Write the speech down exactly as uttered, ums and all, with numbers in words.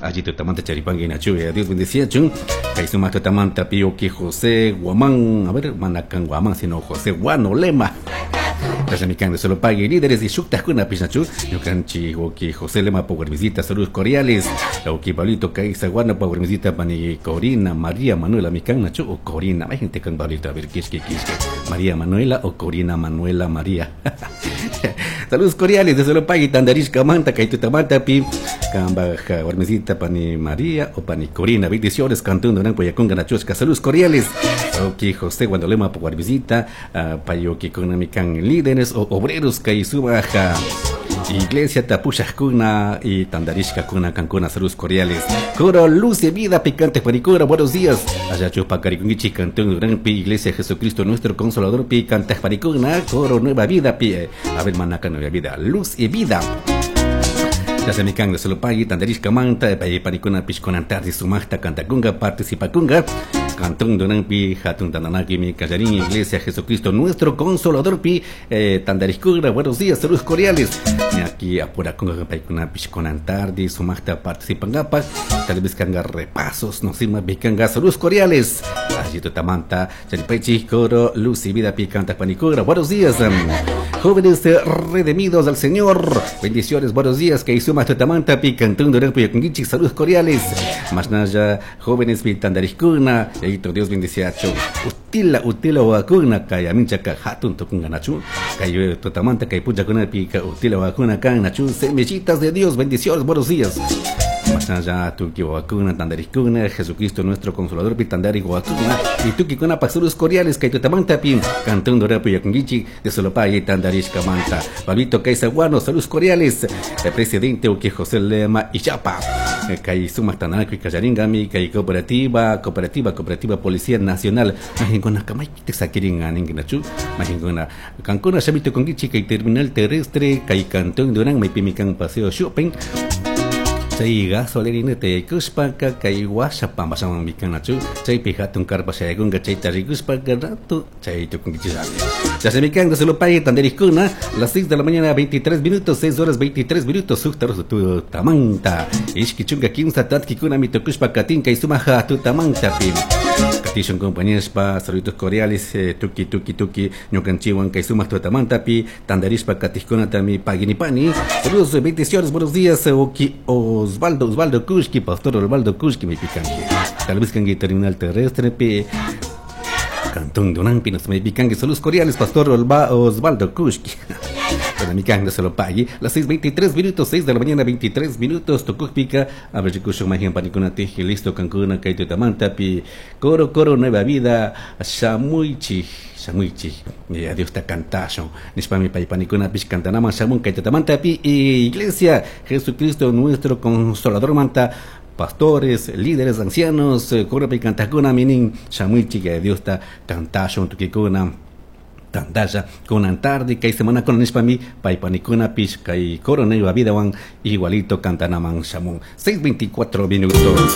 Allí tutamanta charipangui nachu, Dios bendeciachun. Kay sumaq tutamanta pi uki José Guamán, a ver, manakan Guamán, sino José Guano Lema. Mikan de solo pague líderes y shuktajkuna pishnachu ñukanchik uki José Lema por visita, saludos cordiales. Uki Pablito Caiza Guano por visita, pani Corina María Manuela mikan nachu o Corina, hay gente con Pablito, a ver, quisque quisque, María Manuela o Corina Manuela María. Saludos cordiales de solo pague tandarishka manta kay tutamanta pi kamba warmisita pani María o pani Corina, bendiciones cantón Durán Poyaconga nachushka, saludos cordiales. Uki José Guano Lema por visita, payoki con mikan líderes o obreros kay sumaja iglesia tapushajkuna y tandarishkakuna kankuna, saludos cordiales. Coro Luz de Vida Picante Panicura, buenos días. Allá chupa cariconguichi cantón Durán pi iglesia Jesucristo nuestro consolador pi cante panicuna, coro Nueva Vida pi, a ver manaca Nueva Vida, Luz y Vida. Ya se me can de solo pagui, tandarishka manta, panicuna pishconan tarde sumajta cantacunga, participakunga. Cantón Durán pi hatun tandanaki mi callarín iglesia Jesucristo nuestro consolador pi eh, tandariscura, buenos días, saludos cordiales. Aquí apura con paikuna pishconan tarde sumajta participangapa, tal vez canga repasos, no sima bicanga, saludos cordiales. Allí tutamanta, charipaichi, coro, luz y vida pi canta panicura, buenos días. Jóvenes redimidos al Señor, bendiciones, buenos días, que suma tutamanta pi cantón Durán pi yakungichi, saludos cordiales. Más naya, jóvenes pi tandariscuna, Dios bendeciacho. Utila utila wakuna kaya minchaka hatun tukunga nachu. Kayo tutamanta kay pucha kuna pika utila wakuna kan nachu. Semillitas de Dios, bendiciones, buenos días. Más allá tuki wakuna tandariskuna, Jesucristo nuestro consolador pi tandari wakuna y tuki kuna pasurus cordiales kay tutamanta pi cantón dorapu yakungichi de Solopay tandarishka manta. Pablito Kaisaguano, saludos cordiales. El presidente uki José Lema y Chapa. Kay sumaq tananakuy kallaringami kay cooperativa, cooperativa, cooperativa Policía Nacional. Majinkuna kamaypitaq sakirin aninkunachu. Majinkuna kankuna shamito konkichi kay terminal terrestre kay Cantón Durán maypimi kan Paseo Shopping. Chay gasolina te kushpaka kay washa pampasaman mikanachu chaypi hatun karpa shaykunka chayta rikushpaka rato chay tukunkichishami. Ya se mikan de Solopay tanderiskuna las seis de la mañana veintitrés minutos, seis horas veintitrés minutos, suktaros tu tamanta ishki chunka kimsa tatkikuna mitukushpa katinka y sumaja tu tamanta pi. Katishon compañeros pa saludos cordiales, eh, tuki tuki tuki ñukanchiwan kay sumaq tutamanta pi tandarishpa katiskuna tami paginipani. Saludos, bendiciones, buenos días, oki Osvaldo, Osvaldo Kushki, pastor Osvaldo Kushki, mi picanque. Tal vez cangue terminal terrestre pi Cantón Durán pi nos me picanque. Saludos cordiales, pastor Olva, Osvaldo Kushki. Bueno, mi canga se lo pague. Las seis veintitrés minutos, seis de la mañana, veintitrés minutos. Tocó pica. A ver, chicos, magia panicuna teje, listo, cancuna, kaito tamanta, pi. Coro, coro, nueva vida. Shamuichi, shamuichi. Eh, adiós, ta cantazo. Nispami pai panicuna, pis cantanama, shamun, kaito tamanta, pi. Iglesia, Jesucristo, nuestro consolador manta. Pastores, líderes, ancianos, coro, pi cantacuna, minin, shamuichi, que Dios ta cantazo, tukikuna. Tandalla con antarde kay semana con nishpami paypanikuna pish kay coro nueva vida wan igualito cantanaman shamun. Seis veinticuatro minutos.